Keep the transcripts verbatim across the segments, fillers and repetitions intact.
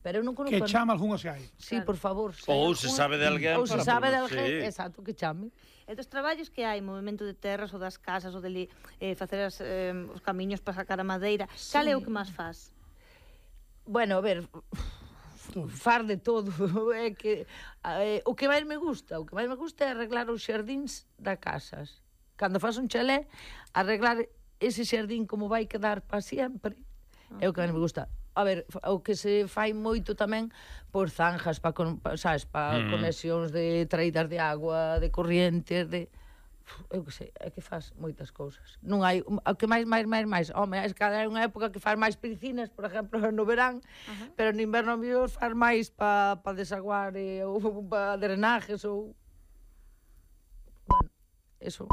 Pero eu non conozco... Que chama algún se hai. Sí, por favor. Ou se sabe de alguén. Ou se sabe de alguén, exacto, que chame. E dos traballos que hai, movimento de terras ou das casas ou de eh, facer as, eh, os camiños para sacar a madeira, sí. Cal é o que máis faz? Bueno, a ver, far de todo. É que eh, o que máis me gusta, o que máis me gusta é arreglar os xardíns da casas. Cando faz un chalé, arreglar ese xardín como vai quedar para sempre. É o que máis me gusta. A ver, o que se fai moito tamén por zanjas, para, sabes, para mm. conexións de traídas de agua, de corrientes, de... Eu que sei, é que faz moitas cousas. Non hai... O que máis, máis, máis, máis... Home, é que hai unha época que faz máis piscinas, por exemplo, no verán, uh -huh. pero no inverno mellor faz máis para pa desaguar eh, ou para drenajes ou... Bueno, eso...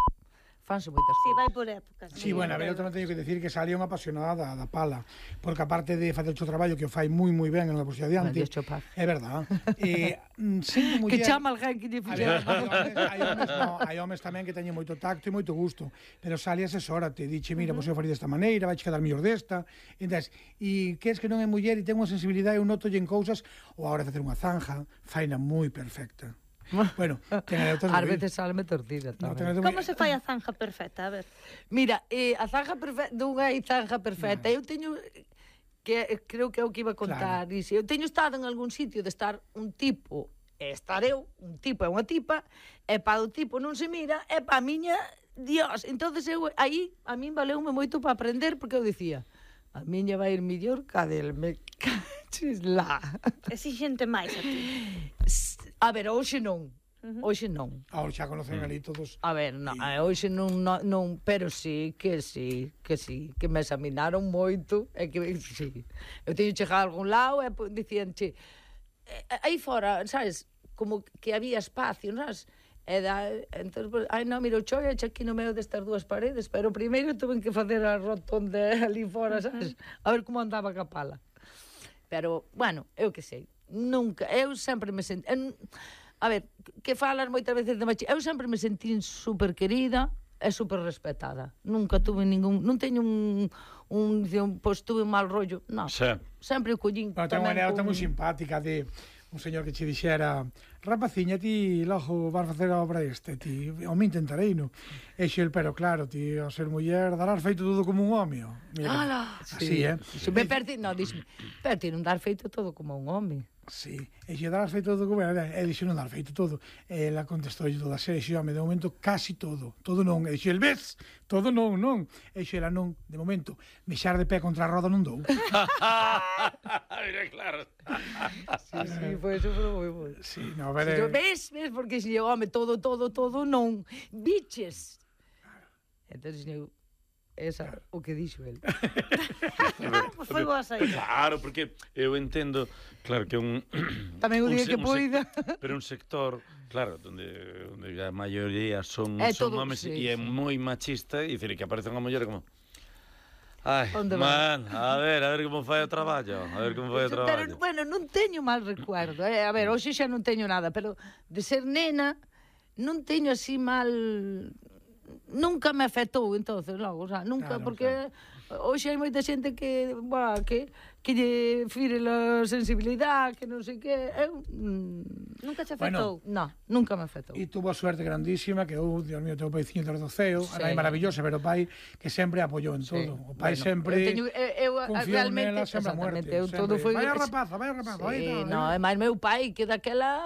fanse moitas cousas. Si, vai por épocas. Si, sí, bueno, a ver, eu tamén teño que decir que salía unha apasionada da, da pala, porque aparte de facer o traballo que o fai moi moi ben en unha posición adiante, é verdad. Eh, sendo muller... Que chama alguén que lle fixera. Hai homes, no, hai homes tamén que teñen moito tacto e moito gusto, pero sale asesórate, diche, mira, uh -huh. vos eu faría desta maneira, vai quedar mellor desta, entonces, e que es que non é muller e ten unha sensibilidade, eu noto en cousas, ou a hora de facer unha zanja, faina moi perfecta. Bueno, ás veces salme torcida tamén. No, como se fai a zanja perfecta? A ver. Mira, eh, a zanja perfecta, non hai zanja perfecta. No. Eu teño que creo que é o que iba a contar. Claro. Eu teño estado en algún sitio de estar un tipo, e estar eu, un tipo e unha tipa, e para o tipo non se mira, e para a miña, Dios. Entonces eu aí a min valeume moito para aprender, porque eu dicía, a miña vai ir mellor ca del, me caches lá. Exixente máis a ti. A ver, hoxe non. Uh -huh. Hoxe non. Ahora xa conocen ali todos. A ver, non, y... hoxe non, non, non, pero sí, que sí, que sí, que me examinaron moito, e que sí. Eu teño chegado a algún lado e dicían, che, aí fora, sabes, como que había espacio, sabes? E da, entonces, pues, ai non, mira, o choi eche aquí no medio destas dúas paredes, pero primeiro tuve que facer a rotonda ali fora, sabes? A ver como andaba a pala. Pero, bueno, eu que sei, nunca, eu sempre me senti... En, a ver, que falas moitas veces de machismo, eu sempre me senti super querida e super respetada. Nunca tuve ningún... Non teño un... un, un pois tuve un mal rollo, non. Sí. Sempre o collín... Pero ten unha anécdota moi simpática de un señor que che dixera, rapaciña, ti logo vas facer a obra este, ti, o me intentarei, no? E xel, pero claro, ti, ao ser muller, darás feito todo como un home, mira, ala, así, sí, eh? Se me perdi, no, dísme, pero ti non dar feito todo como un home. Sí, e xe darás feito todo como era, e dixo non dar feito todo. E ela contestou toda a serie, xe, home, de momento casi todo, todo non. E dixo, el ves, todo non, non. E xe, ela non, de momento, mexar de pé contra a roda non dou. Mira, claro. Sí, sí, foi eso, foi moi bon. Sí, no, ver... Si, ves, ves, porque se home, todo, todo, todo non. Biches. Claro. Entonces, eu... Esa, claro. O que dixo el. Pues foi boa saída. Claro, porque eu entendo, claro, que un... Tamén o día que poida. Pero un sector, claro, onde, onde a maioría son, é son todo, homes sí, e é sí. moi machista, e dicir, que aparece unha muller como... Ai, Onde man, va? a ver, a ver como fai o traballo, a ver como fai o traballo. Pero, bueno, non teño mal recuerdo, eh? A ver, hoxe xa non teño nada, pero de ser nena non teño así mal... Nunca me afectou, entonces, logo, o sea, nunca, claro, porque claro. Hoxe hai moita xente que, bah, que que lle fire a sensibilidade, que non sei que, eu mm, nunca te afectou. Bueno, no, nunca me afectou. E tuvo a suerte grandísima que eu, Dios mío, teu paiciño do ceo, sí. Era maravillosa, pero o pai que sempre apoiou en todo. Sí. O pai bueno, sempre eu teño, eu, eu, confiou nela sempre a muerte. Eu todo foi vai a rapaza, vai a rapaza, vai. Sí, no, é máis meu pai que daquela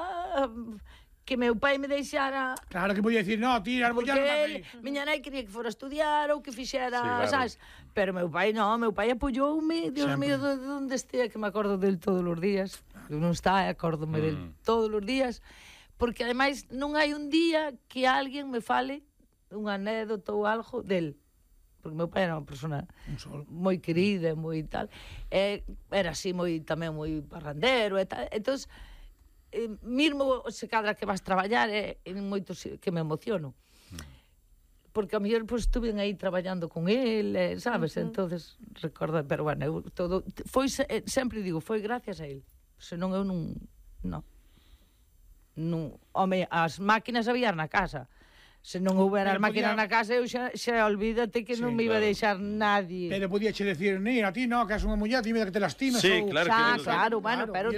que meu pai me deixara... Claro que podía dicir, no, tira, porque el, miña nai quería que fora a estudiar ou que fixera, sí, claro. Sabes? Pero meu pai non, meu pai apoioume, Dios mío, de onde estea, que me acordo del todos os días. Eu non está, acórdome mm. del todos os días, porque ademais non hai un día que alguén me fale unha anécdota ou algo del. Porque meu pai era unha persona moi querida, moi tal, e era así moi tamén moi parrandero e tal, entón eh, mesmo se cadra que vas traballar é eh, en moitos que me emociono porque a mellor pues, estuve aí traballando con el, eh, sabes, uh -huh. Entonces recordo, pero bueno, eu, todo foi, eh, sempre digo, foi gracias a él, senón eu non non, non home, as máquinas había na casa. Se non houbera as máquinas podía... na casa, eu xa, xa olvídate que sí, non me iba claro. A deixar nadie. Pero podía che decir, ni a ti no, que és unha muller, dime que te lastimes. Sí, ou... claro, xa, que... claro, bueno, claro, pero